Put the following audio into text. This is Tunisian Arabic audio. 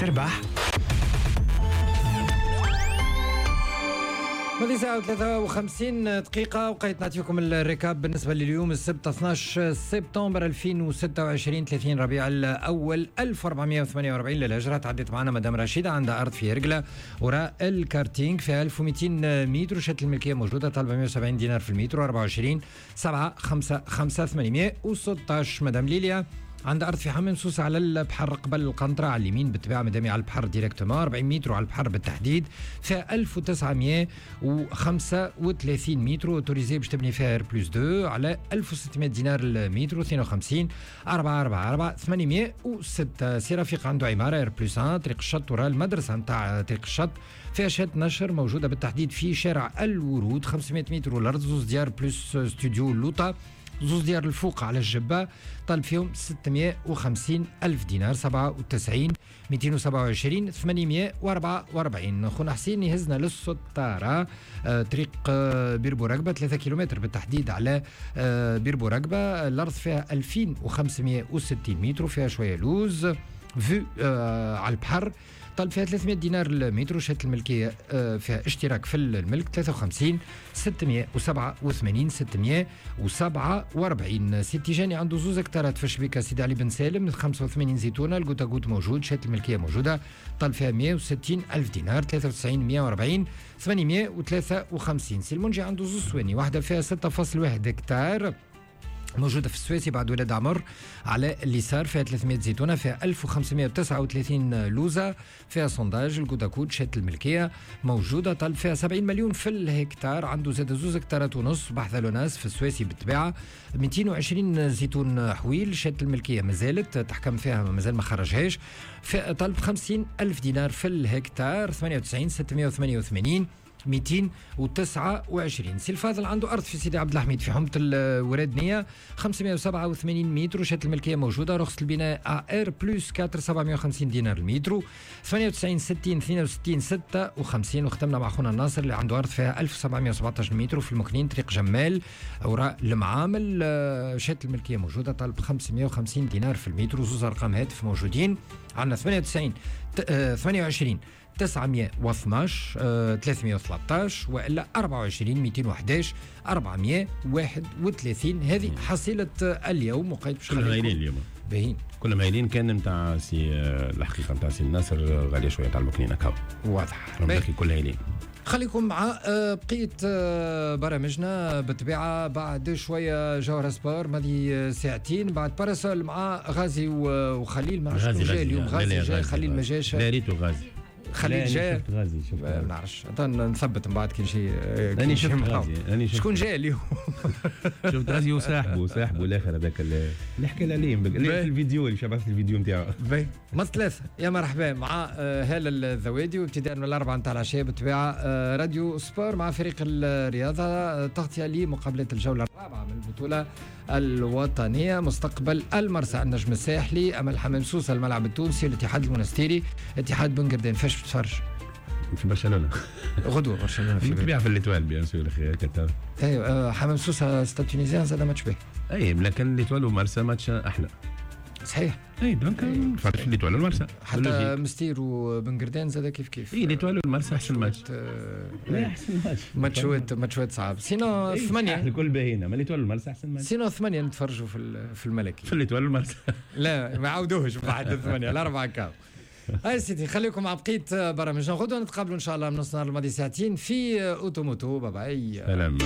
تربح. ماضي ساعة و53 دقيقة، وقيت نعطيكم ال récap بالنسبة لليوم السبت 12 سبتمبر 2026، 30 ربيع الأول 1448 للهجرة. تعديت معنا مدام رشيدة، عندها أرض في رجلة وراء الكارتينغ في 1200 متر، شهادة الملكية موجودة، طالبة 170 دينار في المتر، 24 7 5 5 816. مدام ليليا عند أرض في حمام سوسة على البحر قبل القنطرة على اليمين بالطبيعة، مدامي على البحر directement، 40 متر على البحر بالتحديد، فيها 1935 متر، autorisé باش تبني فيها R plus 2 على 1600 دينار المتر، 52 4 4 4 806. سي رفيق عنده عمارة R plus 1 طريق الشط وراء المدرسة نتاع طريق الشط، فيها شهادة نشر موجودة بالتحديد في شارع الورود، 500 متر والأرض، زوز ديار plus studio لوطا، زوز ديار الفوق على الجبة، طالب فيهم 650 ألف دينار، 97 227 844. خونا حسين يهزنا للسطارة، طريق بير بورقبة، 3 كيلومتر بالتحديد على بير بورقبة، الأرض فيها 2560 متر، فيها شوية لوز vue على البحر، طالب فيها 300 دينار المتر، شهادة الملكية فيها اشتراك في الملك، 53 687 647. سي تيجاني عنده زوز هكتارات في شبيكة سيدي علي بن سالم، 85 زيتونة، ال goutte à goutte موجود، شهادة الملكية موجودة، طالب فيها 160 ألف دينار، 93 140 853. سي المنجي عنده زوز سواني، واحدة فيها 6.1 هكتار موجودة في السويسي بعد ولاد عمر على اليسار، فيها 300 زيتونة، فيها 1539 لوزة، فيها sondage ال goutte à goutte، شهادة الملكية موجودة، طالب فيها 70 مليون في الهكتار. عنده زاد زوز هكتارات ونص بحذا لوناس في السويسي بالطبيعة، 220 زيتون حويل، شهادة الملكية مازالت تحكم فيها، مازال ما خرجهاش، طالب 50 ألف دينار في الهكتار، 98 688 229. سي الفاضل عنده أرض في سيدي عبد الحميد في حومة الورادنية، 587 متر، شهادة الملكية موجودة، رخصة البناء R plus 4، 750 دينار المتر، 98 60 62 56. وختمنا مع خونا الناصر اللي عنده أرض فيها 1717 متر في المكنين طريق جمال وراء المعامل، شهادة الملكية موجودة، طالب 550 دينار في المتر، وزوز أرقام هاتف موجودين عندنا 98 28 912 313 والا 24 211 431. هذه حصيلة اليوم وقيت باش كلهم هايلين اليوم، باهين كلهم هايلين. كان نتاع سي الحقيقة نتاع سي الناصر غالية شوية نتاع المكنين هكا واضح، باقي كل هايلين. خليكم مع بقية برامجنا بالطبيعة. بعد شوية جوهرة سبور ماضي ساعتين، بعد باراسول مع غازي وخليل. ما عرفتش جاي اليوم، غازي جاي، خليل ما جاش. لا ريتو غازي، خليل جاي. شفت غازي، شفت ما نعرفش، نثبت من بعد كي نجي. انا شفت غازي، انا شكون جاي اليوم؟ شفت غازي وصاحبه، صاحبه الاخر هذاك اللي حكى لي عليه في الفيديو، اللي بعث الفيديو نتاعو. ما ثلاثة يا مرحبا مع هالة الذوادي، وابتداء من الأربعة نتاع العشية بالطبيعة راديو سبور مع فريق الرياضة، تغطية لمقابلة الجولة الرابعة من البطولة الوطنية، مستقبل المرسى النجم الساحلي أمل حمام سوسة الملعب التونسي، الاتحاد المونستيري، اتحاد بن قردان. فاش بتفرج؟ في برشلونة غدوة، برشلونة في بالطبيعة في l'Étoile bien sûr اخي. ايوه حمام سوسة Stade Tunisien زاد ماتش باهي. اي لكن l'Étoile ومرسى ماتش احلى. صحيح. اي donc نتفرج في l'Étoile والمرسى، حتى مستير وبن قردان زاد كيف كيف. اي l'Étoile والمرسى احسن ماتش. لا احسن ماتش، ماتشوات صعاب. sinon 8 الكل باهينا، ما l'Étoile والمرسى احسن match. sinon 8 نتفرجوا في الملكي، في l'Étoile والمرسى. لا ما عاودوهش بعد 8 الأربعة كاو. هاي سيدي خليكم مع بقية برامجنا. غدوة نتقابلوا إن شاء الله من نص نهار الماضي ساعتين في أوتوموتو. bye bye. سلام.